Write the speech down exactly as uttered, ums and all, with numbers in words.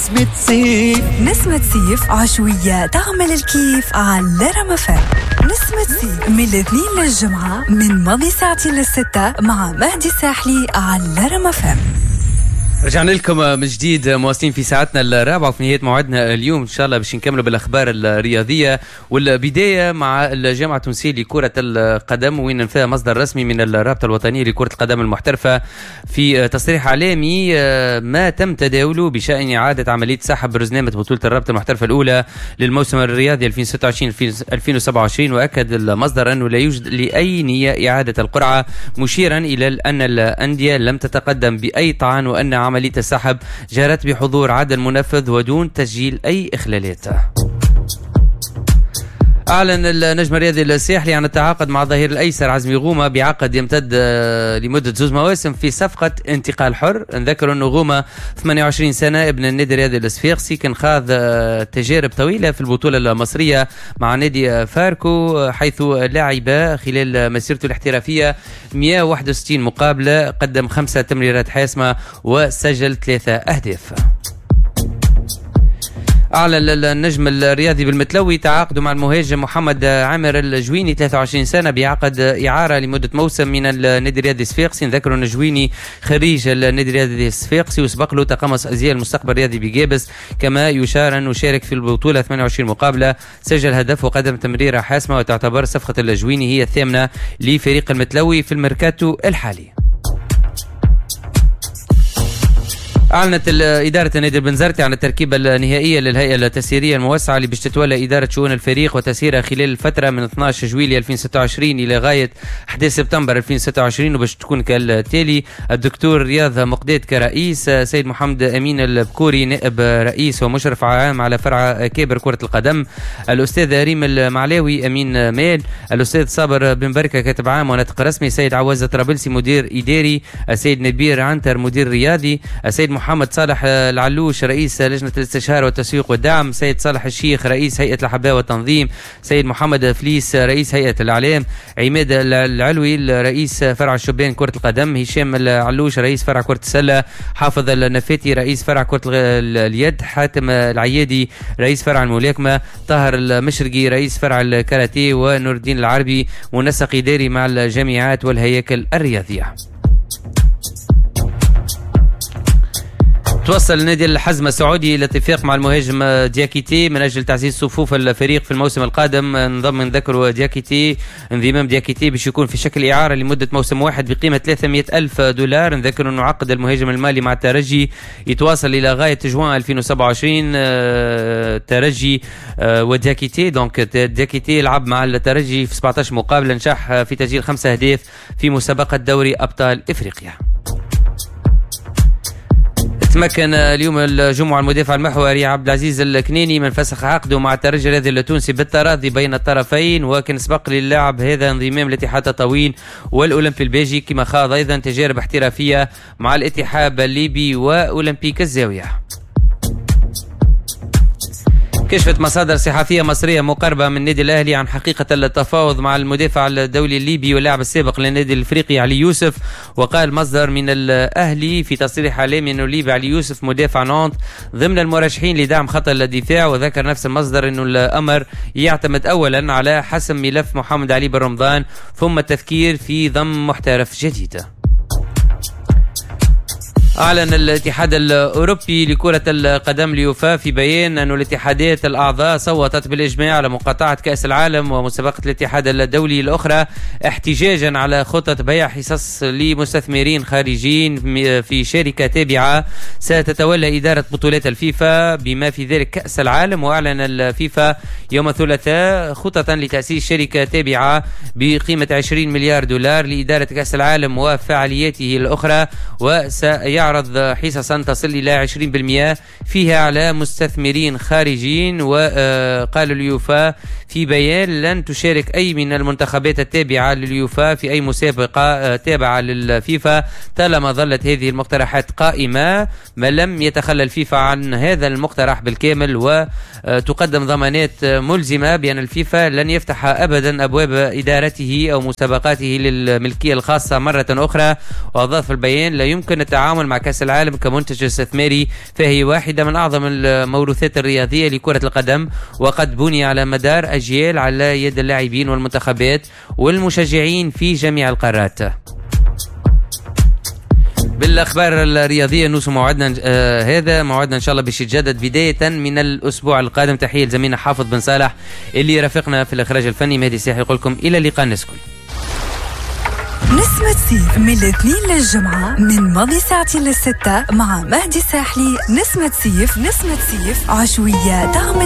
نسمة صيف. نسمة صيف عشوية تعمل الكيف على رمفان. نسمة صيف من الاثنين للجمعة من ماضي ساعتين للستة مع مهدي الساحلي على رمفان. رجعنا لكم من جديد مواصلين في ساعتنا الرابعة وفي نهاية موعدنا اليوم إن شاء الله باش نكملوا بالأخبار الرياضية، والبداية مع الجامعة التونسية لكرة القدم، وين فيها مصدر رسمي من الرابطة الوطنية لكرة القدم المحترفة في تصريح إعلامي ما تم تداوله بشأن إعادة عملية سحب رزنامة بطولة الرابطة المحترفة الأولى للموسم الرياضي ألفين وستة وعشرين ألفين وسبعة وعشرين. وأكد المصدر أنه لا يوجد لأي نية إعادة القرعة، مشيرا إلى أن الأندية لم تتقدم بأي طعن، وأن عملية السحب جرت بحضور عدل منفذ ودون تسجيل أي إخلالات. أعلن النجم الرياضي الساحلي عن التعاقد مع الظهير الأيسر عزمي غومة بعقد يمتد لمدة زوج مواسم في صفقة انتقال حر. نذكر أن غومة ثمانية وعشرين سنة، ابن النادي الرياضي الصفاقسي، كان خاض تجارب طويلة في البطولة المصرية مع نادي فاركو، حيث لعب خلال مسيرته الاحترافية مئة وواحد وستين مقابلة، قدم خمسة تمريرات حاسمة وسجل ثلاثة أهداف. أعلن النجم الرياضي بالمتلوي تعاقده مع المهاجم محمد عامر الجويني ثلاثة وعشرين سنة بعقد إعارة لمدة موسم من النادي الرياضي الصفاقسي. نذكر أن الجويني خريج النادي الرياضي الصفاقسي وسبق له تقمص أزياء المستقبل الرياضي بجابس، كما يشار أنه شارك في البطولة ثمانية وعشرين مقابلة، سجل هدف وقدم تمريرة حاسمة، وتعتبر صفقة الجويني هي الثامنة لفريق المتلوي في الميركاتو الحالي. أعلنت إدارة النادي البنزرتي عن التركيبة النهائية للهيئة التسييرية الموسعة اللي باش تتولى إدارة شؤون الفريق وتسييرها خلال الفترة من اثنا عشر جويلية ألفين وستة وعشرين إلى غاية أحد عشر سبتمبر ألفين وستة وعشرين، وباش تكون كالتالي: الدكتور رياض مقداد كرئيس، سيد محمد أمين البكوري نائب رئيس ومشرف عام على فرع كابر كرة القدم، الأستاذ ريم المعلاوي أمين مال، الأستاذ صابر بن بركة كاتب عام وناطق رسمي، سيد عواز طرابلسي مدير إداري، السيد نبير عنتر مدير رياضي، السيد محمد صالح العلوش رئيس لجنة الاستشارة والتسويق والدعم، سيد صالح الشيخ رئيس هيئة الأحباء والتنظيم، سيد محمد فليس رئيس هيئة الإعلام، عماد العلوي رئيس فرع الشبان كرة القدم، هشام العلوش رئيس فرع كرة السلة، حافظ النفاتي رئيس فرع كرة اليد، حاتم العيادي رئيس فرع الملاكمة، طاهر المشرقي رئيس فرع الكاراتيه، ونور الدين العربي منسق إداري مع الجامعات والهياكل الرياضية. توصل نادي الحزم السعودي الى اتفاق مع المهاجم دياكيتي من اجل تعزيز صفوف الفريق في الموسم القادم. انضم نذكر دياكيتي انضمام دياكيتي باش يكون في شكل اعاره لمدة موسم واحد بقيمة ثلاثمئة ألف دولار. نذكر انه عقد المهاجم المالي مع الترجي يتواصل الى غاية جوان ألفين وسبعة وعشرين. الترجي ودياكيتي، donc دياكيتي لعب مع الترجي في سبعة عشر مقابله، نجح في تسجيل خمسة اهداف في مسابقة دوري ابطال افريقيا. تمكن اليوم الجمعة المدافع المحوري عبد العزيز الكنيني من فسخ عقده مع الترجي الرياضي التونسي بالتراضي بين الطرفين، وكان سبق للاعب هذا انضمام لاتحاد تطاوين والأولمبي الباجي، كما خاض أيضا تجارب احترافية مع الاتحاد الليبي وأولمبيك الزاوية. كشفت مصادر صحفية مصرية مقربة من النادي الأهلي عن حقيقة التفاوض مع المدافع الدولي الليبي واللاعب السابق للنادي الإفريقي علي يوسف. وقال مصدر من الأهلي في تصريح إعلامي أنه الليبي علي يوسف مدافع نانت ضمن المرشحين لدعم خط الدفاع. وذكر نفس المصدر أنه الأمر يعتمد أولا على حسم ملف محمد علي بن رمضان، ثم التفكير في ضم محترف جديد. أعلن الاتحاد الأوروبي لكرة القدم اليوفا في بيان أن الاتحادات الأعضاء صوتت بالإجماع على مقاطعة كأس العالم ومسابقة الاتحاد الدولي الأخرى احتجاجا على خطة بيع حصص لمستثمرين خارجيين في شركة تابعة ستتولى إدارة بطولات الفيفا بما في ذلك كأس العالم. وأعلن الفيفا يوم الثلاثاء خطة لتأسيس شركة تابعة بقيمة عشرين مليار دولار لإدارة كأس العالم وفعالياته الأخرى، وسيعرض حصصا تصل إلى عشرين بالمئة فيها على مستثمرين خارجيين. وقال اليوفا في بيان لن تشارك أي من المنتخبات التابعة لليوفا في أي مسابقة تابعة للفيفا طالما ظلت هذه المقترحات قائمة، ما لم يتخلى الفيفا عن هذا المقترح بالكامل، وتقدم ضمانات ملزمة بأن الفيفا لن يفتح أبدا أبواب إدارته أو مسابقاته للملكية الخاصة مرة أخرى. وأضاف البيان لا يمكن التعامل مع مع كأس العالم كمنتج استثماري، فهي واحدة من أعظم الموروثات الرياضية لكرة القدم، وقد بني على مدار أجيال على يد اللاعبين والمنتخبات والمشجعين في جميع القارات. بالاخبار الرياضية نوصل موعدنا آه هذا موعدنا ان شاء الله باش يتجدد بداية من الاسبوع القادم. تحية لزميلنا حافظ بن صالح اللي رافقنا في الاخراج الفني. مهدي الساحلي يقول لكم الى اللقاء نسكن. نسمة صيف من الاثنين للجمعة من ماضي ساعتين للستة مع مهدي الساحلي. نسمة صيف، نسمة صيف عشوية تعمل